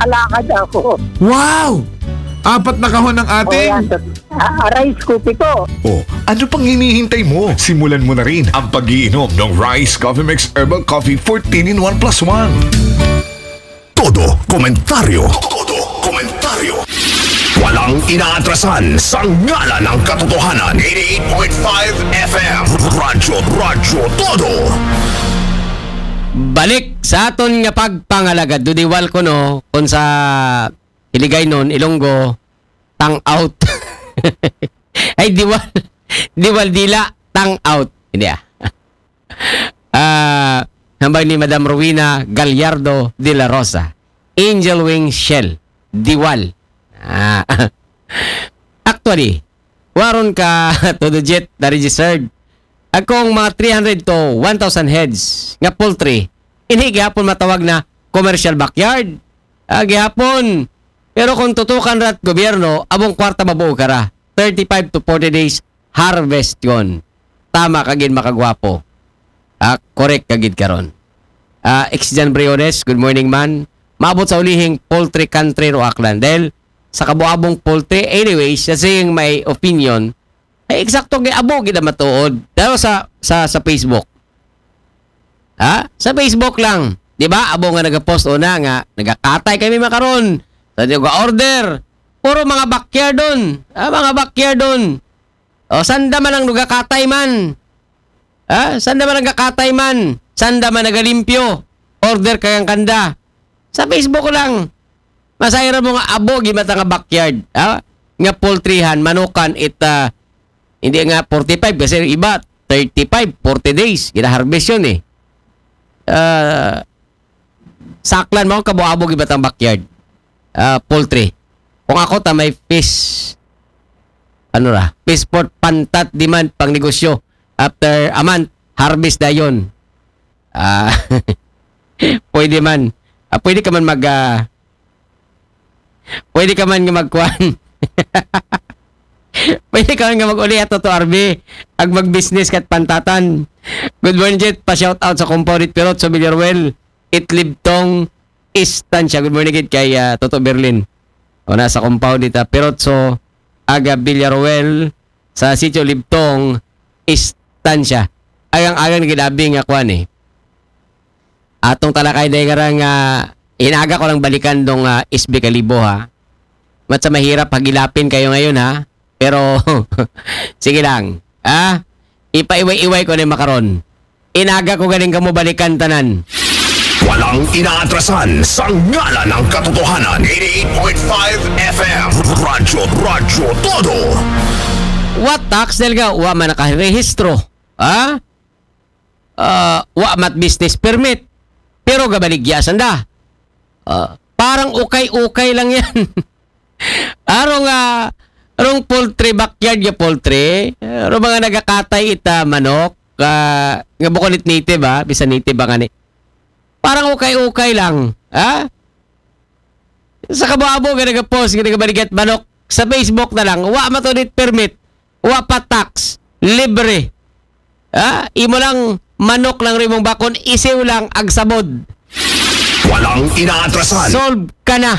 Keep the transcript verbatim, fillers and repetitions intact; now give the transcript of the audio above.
Alakad ako. Wow! Apat na kahon ng O yan, ating... sa, ah, rice ko, pito. Oh, ano pang hinihintay mo? Simulan mo na rin ang pag-iinom ng Rice Coffee Mix Herbal Coffee fourteen in one plus one. Todo komentaryo. Todo komentaryo. Walang inaatrasan sa ngalan ng katotohanan. Eighty-eight point five F M. Radyo, Radyo Todo. Balik sa aton nga pagpangalagad, dudiwal ko, no, kung sa Hiligaynon, Ilonggo, tang out. Ay, diwal. Diwal dila, tang out. Hindi ah. Ah, hambal ni Madam Rowena Gallardo de la Rosa. Angel Wing Shell. Diwal. Ah. Actually, waron ka to the jet na registered. Akong mga three hundred to one thousand heads nga poultry, inhi gihapon matawag na commercial backyard. Ah, gihapon. Pero kung tutukan rat gobyerno, abong kwarta mabuo ka ra. Thirty-five to forty days harvest yon. Tama ka gid, makagwapo. Ah, correct ka gid karon. Ah, Ex Jan Briones, good morning man. Maabot sa ulihing poultry country ro Aklan. Dahil sa kabuabong poultry, anyways, sa saying my opinion, ay eksakto gid, abo gid ang matuod. Pero sa, sa, sa Facebook. Ha? Sa Facebook lang. Di ba? Abo nga nagapost una nga nagakatay kami makaron. Sa di ga-order. Puro mga backyard doon. Ah, mga backyard doon. O, sanda man ang nagakatay man. Ha? Sanda man ang gakatay man. Sanda man nagalimpyo. Order kayang kanda. Sa Facebook lang. Masayra mo nga abo gid bata nga backyard. Ha? Nga poultryhan, manukan, it, ah, hindi nga forty-five kasi yung iba, thirty-five, forty days. Gina-harvest yun eh. Ah, sa Aklan mo, kabuabo gid bata ang backyard. Ah, poultry. Kung ako, ta may fish, ano ra, fish port, pantat, demand, pang negosyo. After a month, harvest dayon. Ah, pwede man. Ah, pwede ka man mag, ah, pwede ka man nga magkuan. Pwede ka man nga mag-uli ato to R B. Ag mag-business kat pantatan. Good morning, Jet. Pa-shout out sa compound it Pirot sa Villaruel. Itlibtong Estancia. Good morning, gid kay ah, Toto Berlin. O na sa compound it ah, Pirot so aga Villaruel sa Sitio Libtong Estancia. Agang-agang na gid abi nga kuan eh. Atong talakay day nga ra nga inaga ko lang balikan dong ah, S B Kalibo ha. Mat sa mahirap pagilapin kayo ngayon ha. Pero sige lang. Ha? Ipaiway-iway ko na yung makaron. Inaga ko galing kamo balikan tanan. Walang inaatrasan sa ngalan ng katotohanan. Eighty-eight point five F M. Radyo, Radyo Todo. What tax dahil nga wa man nakarehistro? Ha? Ah, wa mat business permit. Pero gabaligya sanda. Ah, parang ukay-ukay lang yan. Arong ah, arong poultry, backyard nga poultry. Arong mga nagakatay ita manok. Ah, nga bukon it native ha. Bisa native ba nga ni? Parang ukay-ukay lang. Ha? Sa kabuabo nga nagapost, nga nagabaligat manok. Sa Facebook na lang. Wa matunit permit. Wa pa tax. Libre. Ha? Imo lang manok lang rimong bakon. Isiw lang agsabod. Walang inaatrasan. Solve ka na.